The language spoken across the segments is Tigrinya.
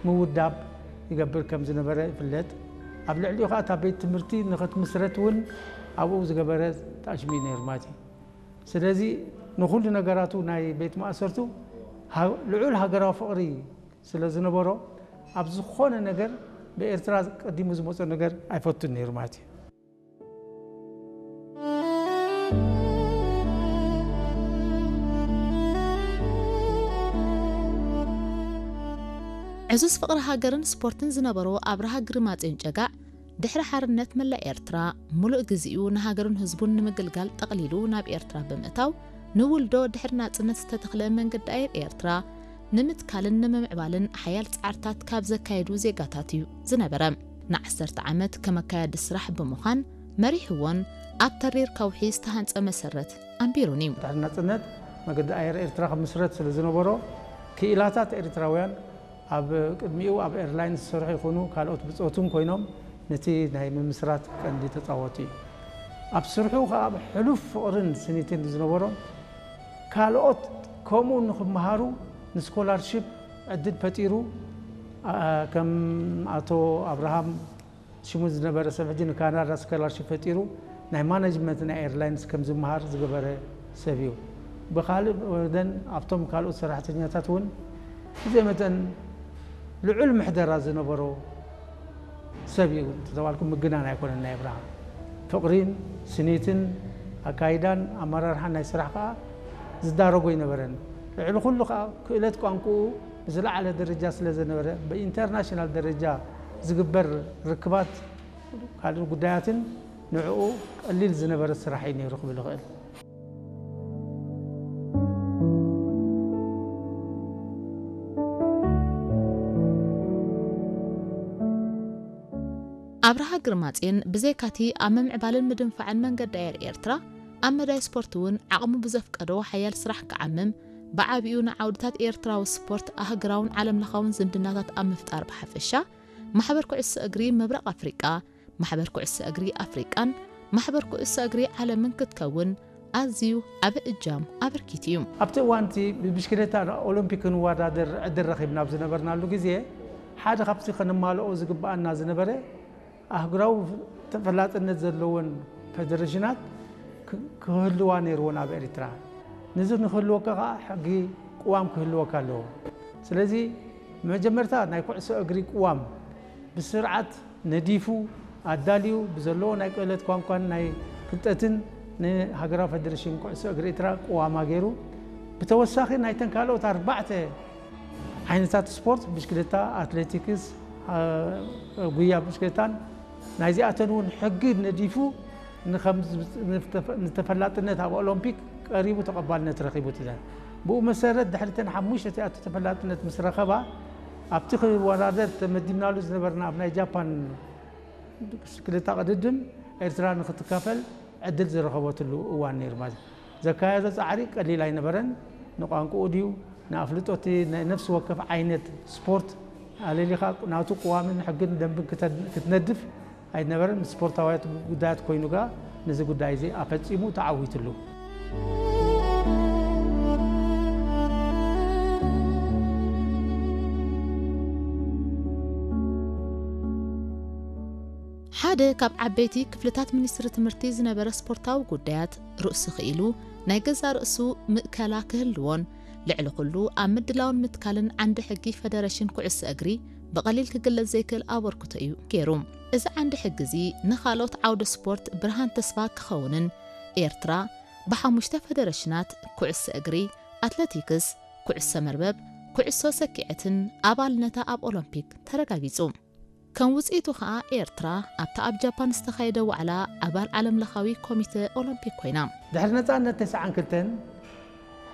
ምውዳብ ይገብር ከም ዝነበረ ይፍለጥ። ኣብ ልዕሊኡ ከዓ እታ ቤት ትምህርቲ ንኽትምስረት እውን ኣብኡ ዝገበረ ተኣሽሙ እዩ ነይሩ ማለት እዩ። ስለዚ ንኹሉ ነገራቱ ናይ ቤት ማእሰርቱ ሃ- ልዑል ሃገራዊ ፍቕሪ ስለ ዝነበሮ ኣብ ዝኾነ ነገር ብኤርትራ ቀዲሙ ዝመጾ ነገር ኣይፈቱን ነይሩ ማለት እዩ። ዕዙዝ ፍቕሪ ሃገርን ስፖርትን ዝነበሮ ኣብርሃ ግርማጽዮን ጨጋዕ ድሕሪ ሓርነት መላእ ኤርትራ፣ ምሉእ ግዜኡ ንሃገሩን ህዝቡን ንምግልጋል ጠቕሊሉ ናብ ኤርትራ ብምእታው፣ ንውልዶ ድሕሪ ናጽነት ዝተተኽለ መንገዲ ኣየር ኤርትራ ንምትካልን ንምምዕባልን ሓያል ጻዕርታት ካብ ዘካየዱ ዜጋታት እዩ ዝነበረ። ንዓሰርተ ዓመት ከም ኣካያዲ ስራሕ ብምዃን መሪሕዎን ኣብ ተሪር ከውሒ ዝተሃንጸ መሰረት ኣንቢሩን እዩ። ድሕሪ ናጽነት መገዲ ኣየር ኤርትራ ክምስረት ስለ ዝነበሮ፣ ክኢላታት ኤርትራውያን ኣብ ቅድሚኡ ኣብ ኤርላይንስ ዝሰርሑ ይኹኑ ካልኦት ብጾቱን ኮይኖም ነቲ ናይ ምምስራት ቀንዲ ተጻወቱ እዩ። ኣብ ስርሑ ከኣ ሕሉፍ ፍቕርን ስኒትን ዝነበሮን ካልኦት ከምኡ ንኽመሃሩ ንስኮላርሺፕ ዕድል ፈጢሩ። ኣ- ከም ኣቶ ኣብርሃም ሽሙ ዝነበረ ሰብ ሕጂ ንካናዳ ስኮላርሺፕ ፈጢሩ ናይ ማነጅመንት ናይ ኤርላይንስ ከም ዝመሃር ዝገበረ ሰብ እዩ። ብኻልእ ወገን ኣብቶም ካልኦት ሰራሕተኛታት እውን ብዘይ መጠን ልዑል ምሕደራ ዝነበሮ ሰብ እዩ እንተተባልኩ ምግናን ኣይኮነን። ናይ ኣብርሃም ፍቕሪን ስኒትን ኣካይዳን ኣመራርሓን ናይ ስራሕ ከዓ ዝዳረጎ ኣይነበረን። ልዕሊ ኩሉ ከዓ ክእለት ቋንቋኡ ብዝለዓለ ደረጃ ስለ ዝነበረ ብኢንተርናሽናል ደረጃ ዝግበር ርክባት ካልእ ጉዳያትን ንዕኡ ቀሊል ዝነበረ ስራሕ እዩ ነይሩ ክብል እኽእል። ኣብርሃ ግርማጽዮን ብዘይካቲ ኣብ ምምዕባልን ምድንፋዕን መንገዲ ኣየር ኤርትራ ኣብ መዳይ ስፖርት እውን ዓቕሙ ብዘፍቀዶ ሓያል ስራሕ ክዓምም ብዓቢኡ ንዓውድታት ኤርትራዊ ስፖርት ኣህግራውን ዓለምለኻውን ዝምድናታት ኣብ ምፍጣር ብሓፈሻ ማሕበር ኩዕሶ እግሪ ምብራቕ ኣፍሪቃ ማሕበር ኩዕሶ እግሪ ኣፍሪቃን ማሕበር ኩዕሶ እግሪ ዓለምን ክትከውን ኣዝዩ ዓቢ እጃም ኣበርኪቱ እዩ። ኣብቲ እዋን እቲ ብብሽክሌታ ኦሎምፒክ ክንወዳደር ዕድል ረኺብና ኣብ ዝነበርናሉ ግዜ ሓደ ካብቲ ከነማልኦ ዝግብኣና ዝነበረ ኣህጉራዊ ተፈላጥነት ዘለወን ፌደሬሽናት ክህልዋ ነይርወን ኣብ ኤርትራ። ንዚ ንክህልወካ ከዓ ሕጊ ቅዋም ክህልወካ ኣለዎ። ስለዚ መጀመርታ ናይ ኩዕሶ እግሪ ቅዋም ብስርዓት ነዲፉ ኣዳልዩ ብዘለዎ ናይ ክእለት ቋንቋን ናይ ፍልጠትን ንሃገራዊ ፌደሬሽን ኩዕሶ እግሪ ኤርትራ ቅዋማ ገይሩ። ብተወሳኺ ናይተን ካልኦት ኣርባዕተ ዓይነታት ስፖርት ብሽክለታ፣ ኣትሌቲክስ፣ ጉያ ብሽክለታን ናይዚኣተን እውን ሕጊ ነዲፉ ንተፈላጥነት ኣብ ኦሎምፒክ ቀሪቡ ተቐባልነት ረኺቡ። ብኡ መሰረት ድሕሪ ተን ሓሙሽተ እቲኣቶ ተፈላጥነት ምስ ረኸባ ኣብቲ ክወዳደር ተመዲብናሉ ዝነበርና ኣብ ናይ ጃፓን ብሽክለታ ቅድድም ኤርትራ ንክትካፈል ዕድል ዝረኸበትሉ እዋን ነይሩ ማለት እዩ። ዘካየዶ ፃዕሪ ቀሊል ኣይነበረን። ንቋንቋኡ ድዩ ንኣፍልጦ እቲ ናይ ነፍሲ ወከፍ ዓይነት ስፖርት ኣለሊኻ ናቱ ቅዋምን ሕግን ደንብን ክትነድፍ ኣይነበረን። ምስ ስፖርታውያት ጉዳያት ኮይኑ ከኣ ነዚ ጉዳይ እዚ ኣፈፂሙ ተዓዊትሉ። ሓደ ካብ ዓበይቲ ክፍልታት ሚኒስትሪ ትምህርቲ ዝነበረ ስፖርታዊ ጉዳያት ርእሱ ክኢሉ ናይ ገዛእ ርእሱ ምእከላ ክህልዎን ልዕሊ ኩሉ ኣብ ምድላውን ምትካልን ዓንዲ ሕጊ ፈደረሽን ኩዕሶ እግሪ ብቐሊል ክግለጽ ዘይክእል ኣበርክቶ እዩ ገይሩ። እዚ ዓንዲ ሕጊ እዚ ንኻልኦት ዓውደ ስፖርት ብርሃን ተስፋ ክኸውንን ኤርትራ ብሓሙሽተ ፈደረሽናት ኩዕሶ እግሪ፣ ኣትለቲክስ፣ ኩዕሶ መርበብ፣ ኩዕሶ ሰኪዐትን ኣባልነታ ኣብ ኦሎምፒክ ተረጋጊጹ። ከም ውጽኢቱ ከኣ ኤርትራ ኣብታ ኣብ ጃፓን ዝተኻየደ ዋዕላ ኣባል ዓለምለኻዊ ኮሚተ ኦሎምፒክ ኮይና። ድሕሪ ነጻነት ተስዓን ክልተን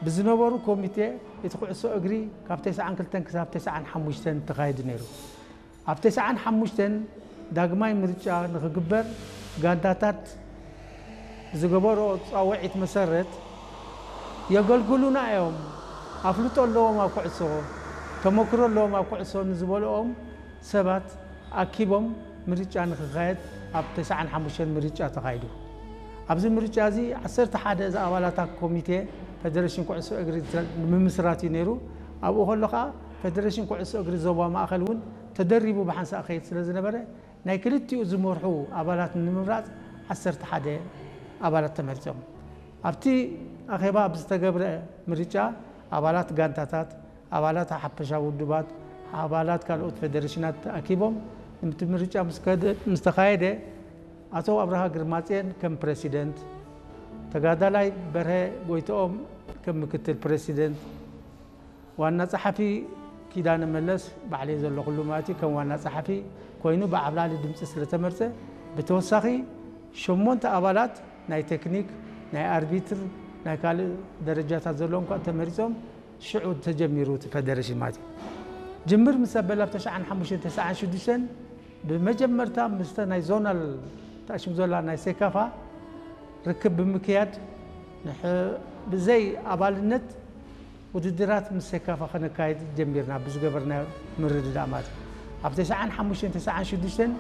ብዝነበሩ ኮሚቴ እቲ ኩዕሶ እግሪ ካብ ተስዓን ክልተን ክሳብ ተስዓን ሓሙሽተን ተኻይዱ ነይሩ። ኣብ ተስዓን ሓሙሽተን ዳግማይ ምርጫ ንኽግበር ጋንታታት ብዝገበርኦ ጻውዒት መሰረት የገልግሉና እዮም፣ ኣፍልጦ ኣለዎም ኣብ ኩዕሶ፣ ተመክሮ ኣለዎም ኣብ ኩዕሶ ንዝበልኦም ሰባት ኣኪቦም ምርጫ ንኽኻየድ ኣብ ተስዓን ሓሙሽተን ምርጫ ተኻይዱ። ኣብዚ ምርጫ እዚ ዓሰርተ ሓደ ዝኣባላታ ኮሚቴ ፈደረሽን ኩዕሶ እግሪ ንምምስራት እዩ ነይሩ። ኣብኡ ከሎ ኸኣ ፌደሬሽን ኩዕሶ እግሪ ዞባ ማእኸል እውን ተደሪቡ ብሓንሳእ ክኸይድ ስለ ዝነበረ፣ ናይ ክልቲኡ ዝመርሑ ኣባላት ንምምራፅ ዓሰርተ ሓደ ኣባላት ተመሪፆም። ኣብቲ ኣኼባ ብዝተገብረ ምርጫ፣ ኣባላት ጋንታታት፣ ኣባላት ሓፈሻዊ ውድባት፣ ኣባላት ካልኦት ፌደሬሽናት ተኣኪቦም፣ እቲ ምርጫ ምስ ከደ-፣ ምስ ተኻየደ፣ ኣቶ ኣብርሃ ግርማፅዮን ከም ፕረሲደንት፣ ተጋዳላይ በርሀ ጎይትኦም ከም ምክትል ፕረሲደንት፣ ዋና ጸሓፊ ኪዳነ መለስ፣ ባዕለይ ዘለኹሉ ማለት እዩ፣ ከም ዋና ጸሓፊ ኮይኑ ብዓብላሊ ድምጺ ስለ ተመርጸ፣ ብተወሳኺ ሸሞንተ ኣባላት ናይ ቴክኒክ፣ ናይ ኣርቢትር፣ ናይ ካልእ ደረጃታት ዘለዎም ከኣ ተመሪጾም፣ ሽዑ ተጀሚሩ እቲ ፌደሬሽን ማለት እዩ። ጅምር ምስ ኣበለ ኣብ ተስዓን ሓሙሽተን ተስዓን ሽዱሽተን ብመጀመርታ ምስተ ናይ ዞናል ተኣሽም ዘላ ናይ ሴካፋ ርክብ ብምክያድ፣ ንሕ-፣ ብዘይ ኣባልነት ውድድራት ምስ ሴካፋ ከነካይድ ጀሚርና ብዝገበርናዮ ምርድዳእ ማለት እዩ። ኣብ ተስዓን ሓሙሽተን ተስዓን ሽዱሽተን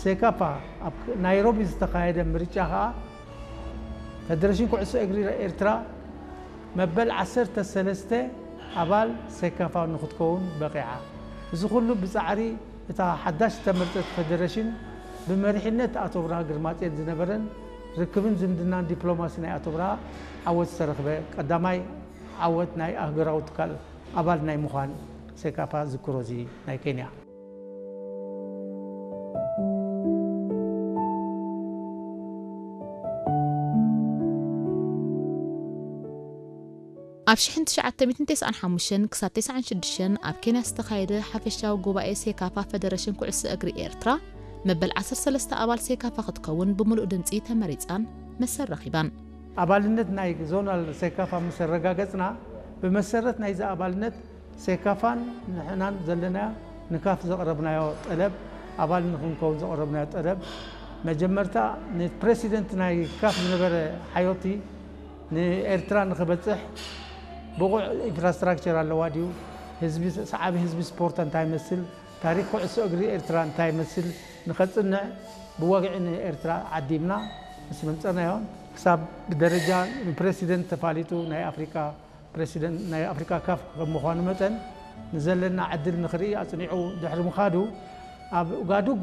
ሴካፋ ኣብ ናይሮቢ ዝተኻየደ ምርጫ ከኣ፣ ፌደሬሽን ኩዕሶ እግሪ ኤርትራ መበል ዓሰርተ ሰለስተ ኣባል ሴካፋ ንክትከውን በቒዓ። እዚ ኩሉ ብጻዕሪ እታ ሓዳሽ ዝተመርጸት ፌደሬሽን፣ ብመሪሕነት ኣቶ ብርሃ ግርማጽዮን ዝነበረን ርክብን ዝምድናን ዲፕሎማሲ ናይ ኣቶ ብርሃ ዓወት ዝተረኽበ ቀዳማይ ዓወት ናይ ኣህጉራዊ ትካል ኣባል ናይ ምዃን ሴካፋ ዝክሮ እዚ ናይ ኬንያ። ኣብ ሽሕን ትሽዓተ ሚእትን ተስዓን ሓሙሽተን ክሳብ ተስዓን ሽዱሽተን ኣብ ኬንያ ዝተኻየደ ሓፈሻዊ ጉባኤ ሴካፋ ፌደሬሽን ኩዕሶ እግሪ ኤርትራ፣ መበል ዓሰርተ ሰለስተ ኣባል ሴካፋ ክትከውን ብምሉእ ድምጺ ተመሪጻን መሰል ረኺባን። ኣባልነት ናይ ዞናል ሴካፋ ምስ ኣረጋገጽና፣ ብመሰረት ናይዚ ኣባልነት ሴካፋን ንሕናን ዘለና ንካፍ ዘቕረብናዮ ጠለብ፣ ኣባል ንክንከውን ዘቕረብናዮ ጠለብ፣ መጀመርታ ንፕረሲደንት ናይ ካፍ ዝነበረ ሓዮቲ ንኤርትራ ንክበጽሕ ብቑዕ ኢንፍራስትራክቸር ኣለዋ ድዩ? ህዝቢ፣ ሰዓቢ ህዝቢ ስፖርት እንታይ ይመስል? ታሪክ ኩዕሶ እግሪ ኤርትራ እንታይ ይመስል? ንኸጽንዕ ብወግዒ ንኤርትራ ዓዲምና ምስ መምጸናዮ፣ ክሳብ ብደረጃ ንፕረሲደንት ተፋሊጡ ናይ ኣፍሪቃ ፕረሲደንት ናይ ኣፍሪካ ካፍ ከም ምዃኑ መጠን፣ ንዘለና ዕድል ንኽርኢ ኣጽኒዑ ድሕሪ ምኻዱ፣ ኣብ ኡጋዱጉ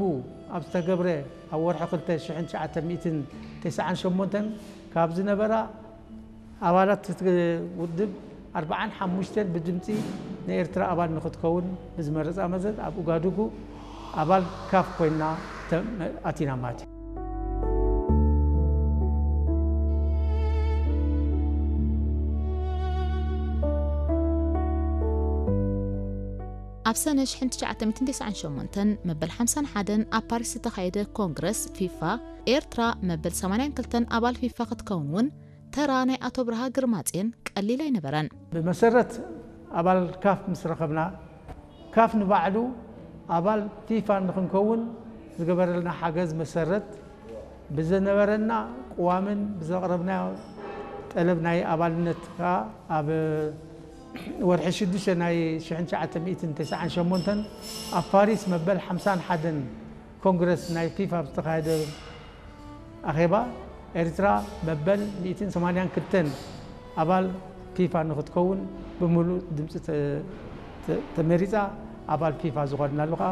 ኣብ ዝተገብረ፣ ኣብ ወርሒ ክልተ ሽሕን ትሽዓተ ሚእትን ተስዓን ሸሞንተን ካብ ዝነበራ ኣባላት እቲ ውድብ ኣርብዓን ሓሙሽተን ብድምጺ ንኤርትራ ኣባል ንኽትከውን ብዝመረጻ መሰረት፣ ኣብ ኡጋዱጉ ኣባል ካፍ ኮይና ተ-፣ ኣቲና ማለት እዩ። ኣብ ሰነ ሽሕን ትሽዓተ ሚእትን ተስዓን ሸሞንተን መበል ሓምሳን ሓደን ኣብ ፓሪስ ዝተኻየደ ኮንግረስ ፊፋ፣ ኤርትራ መበል ሰማንያን ክልተን ኣባል ፊፋ ክትከውን እውን ተራ ናይ ኣቶ ብርሃ ግርማጽዮን ቀሊል ኣይነበረን። ብመሰረት ኣባል ካፍ ምስ ረኸብና፣ ካፍ ንባዕሉ ኣባል ፊፋ ንኽንከውን ዝገበረልና ሓገዝ መሰረት፣ ብዝነበረና ቅዋምን ብዘቕረብናዮ ጠለብ ናይ ኣባልነት ከኣ፣ ኣብ ወርሒ ሽዱሽተ ናይ ሽሕን ትሽዓተ ሚእትን ተስዓን ሸሞንተን ኣብ ፓሪስ መበል ሓምሳን ሓደን ኮንግረስ ናይ ፊፋ ኣብ ዝተኻየደ ኣኼባ፣ ኤርትራ መበል ሚእትን ሰማንያን ክልተን ኣባል ፊፋ ንኽትከውን ብምሉእ ድምፂ ተ-፣ ተ-፣ ተመሪፃ፣ ኣባል ፊፋ ዝኾንናሉ ከዓ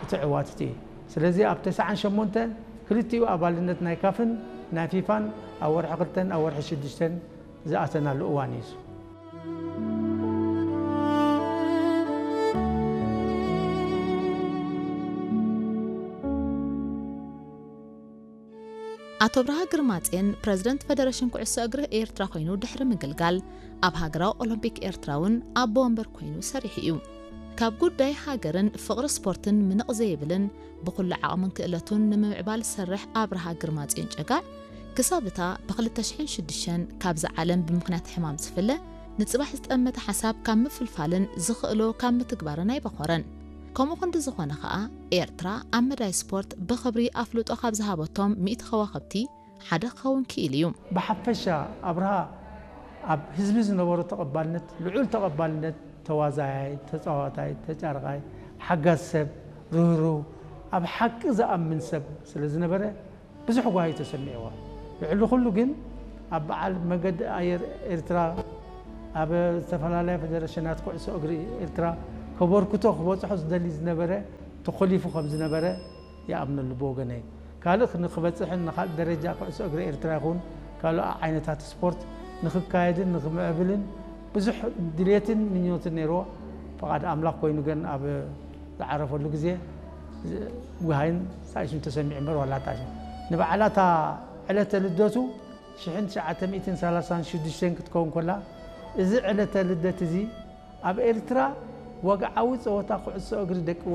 እቲ ዕዋት እቲ እዩ። ስለዚ ኣብ ተስዓን ሸሞንተን ክልቲኡ ኣባልነት ናይ ካፍን ናይ ፊፋን ኣብ ወርሒ ክልተን ኣብ ወርሒ ሽዱሽተን ዝኣተናሉ እዋን እዩ። ኣቶ ብርሃ ግርማጼን ፕረዚደንት ፈደረሽን ኩዕሶ እግሪ ኤርትራ ኮይኑ ድሕሪ ምግልጋል፣ ኣብ ሃገራዊ ኦሎምፒክ ኤርትራ እውን ኣቦ ወንበር ኮይኑ ሰሪሑ እዩ። ካብ ጉዳይ ሃገርን ፍቕሪ ስፖርትን ምንቕ ዘይብልን ብኹሉ ዓቕምን ክእለቱን ንምምዕባል ዝሰርሕ ኣብርሃ ግርማጽዮን ጨጋዕ፣ ክሳብ እታ ብ ክልተ ሽሕን ሽዱሽተን ካብዛ ዓለም ብምኽንያት ሕማም ዝፍለ፣ ንጽባሕ ዝጠመተ ሓሳብ ካብ ምፍልፋልን ዝኽእሎ ካብ ምትግባርን ኣይበኾረን። ከምኡ ክንዲ ዝኾነ ኸኣ፣ ኤርትራ ኣብ መዳይ ስፖርት ብኽብሪ ኣፍልጦ ካብ ዝሃበቶም ሚእቲ ከዋኽብቲ ሓደ ክኸውን ክኢሉ እዩ። ብሓፈሻ ኣብርሃ ኣብ ህዝቢ ዝነበሮ ተቐባልነት፣ ልዑል ተቐባልነት፣ ተዋዛያይ፣ ተጻዋታይ፣ ተጫርቓይ፣ ሓጋዝ ሰብ፣ ርህሩህ፣ ኣብ ሓቂ ዝኣምን ሰብ ስለ ዝነበረ ብዙሕ ጓሂ ተሰሚዕዎ። ልዕሊ ኩሉ ግን ኣብ በዓል መገዲ ኣየር ኤርትራ፣ ኣብ ዝተፈላለያ ፈደረሽናት ኩዕሶ እግሪ ኤርትራ፣ ከበርክቶ ክበፅሖ ዝደሊ ዝነበረ ተኾሊፉ ከም ዝነበረ ይኣምነሉ ብወገነይ። ካልእ ንክበፅሕን ንካልእ ደረጃ ኩዕሶ እግሪ ኤርትራ ይኹን ካልእ ዓይነታት ስፖርት ንክካየድን ንክምዕብልን ብዙሕ ድሌትን ምኞትን ነይርዎ። ፍቓድ ኣምላኽ ኮይኑ ግን ኣብ ዝዓረፈሉ ግዜ ውሃይን ሳይሱን ተሰሚዑ እምበር ዋላ ጣሽ ንበዓላታ ዕለተ ልደቱ ሽሕን ትሽዓተ ሚእትን ሰላሳን ሽዱሽተን ክትከውን ከላ፣ እዚ ዕለተ ልደት እዚ ኣብ ኤርትራ ወግዓዊ ጸወታ ኩዕሶ እግሪ ደቂ